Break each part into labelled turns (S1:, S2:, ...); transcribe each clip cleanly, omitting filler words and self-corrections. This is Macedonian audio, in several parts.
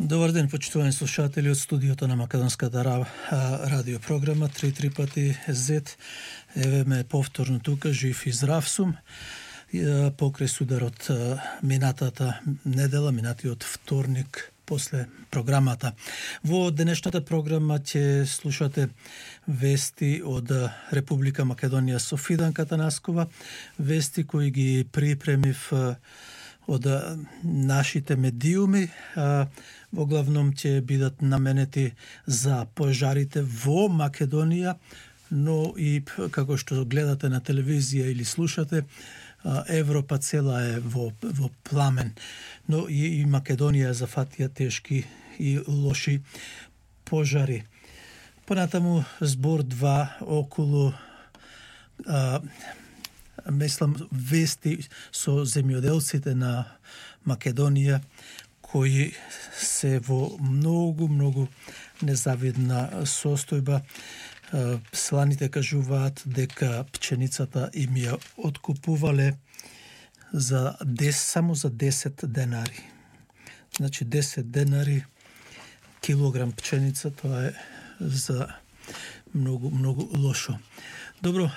S1: Добар ден, почитувани слушатели од студиото на Македонската радио програма 3 пати Z. Еве ме повторно тука, жив и здрав сум. Покрај сударот минатата недела, минатиот вторник после програмата. Во денешната програма ќе слушате вести од Република Македонија со Фиданка Танаскова, вести кои ги припремив од нашите медиуми, во главном ќе бидат наменети за пожарите во Македонија, но и како што гледате на телевизија или слушате, Европа цела е во пламен, но и Македонија зафатија тешки и лоши пожари. Понатаму збор 2 околу мислам вести со земјоделците на Македонија кои се во многу незавидна состојба. Сланите кажуваат дека пченицата им ја откупувале само за 10 денари. Значи 10 денари килограм пченица, тоа е за многу лошо. Добро,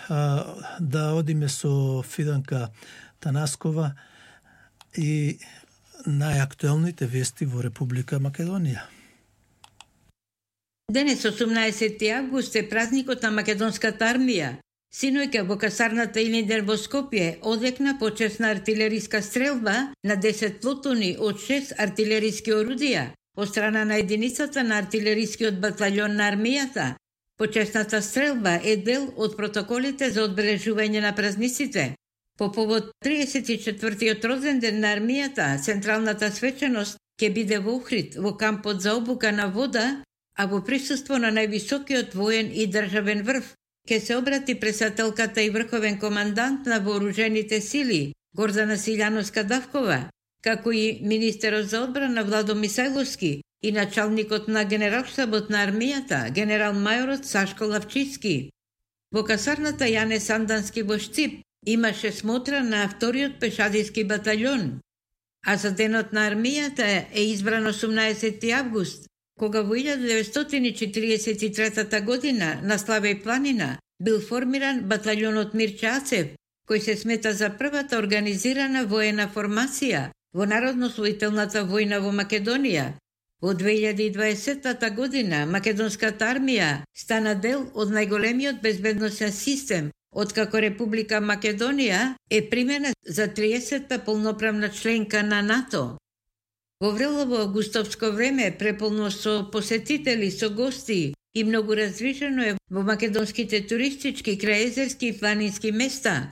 S1: да одиме со Фиданка Танаскова и најактуелните вести во Република Македонија.
S2: Денес, 18 август, е празникот на Македонската армија. Синојка во касарната Илиндер во Скопје одекна почесна артилериска стрелба на 10 плотони од 6 артилериски орудија од страна на единицата на артилерискиот батальон на армијата. Почесната стрелба е дел од протоколите за одбележување на празниците. По повод 34-тиот роденден на армијата, централната свеченост ќе биде во Охрид, во кампот за обука на вода, а во присуство на највисокиот воен и државен врв ќе се обрати претседателката и врховен командант на вооружените сили Гордана Силјановска-Давкова, како и министерот за одбрана Владо Мисајловски и началникот на генералштабот на армијата, генерал-мајорот Сашко Лавчиски. Во касарната Јане Сандански во Штип имаше смотра на вториот пешадиски батальон, а за денот на армијата е избран 18 август, кога во 1943 година на Славеј планина бил формиран батальонот Мирче Ацев, кој се смета за првата организирана воена формација во Народно-освоителната војна во Македонија. Во 2020 година Македонската армија стана дел од најголемиот безбедносен систем, откако Република Македонија е примена за 30-та полноправна членка на НАТО. Во врелово августовско време, преполно со посетители, со гости и многу раздвижено е во македонските туристички, крајезерски и планински места,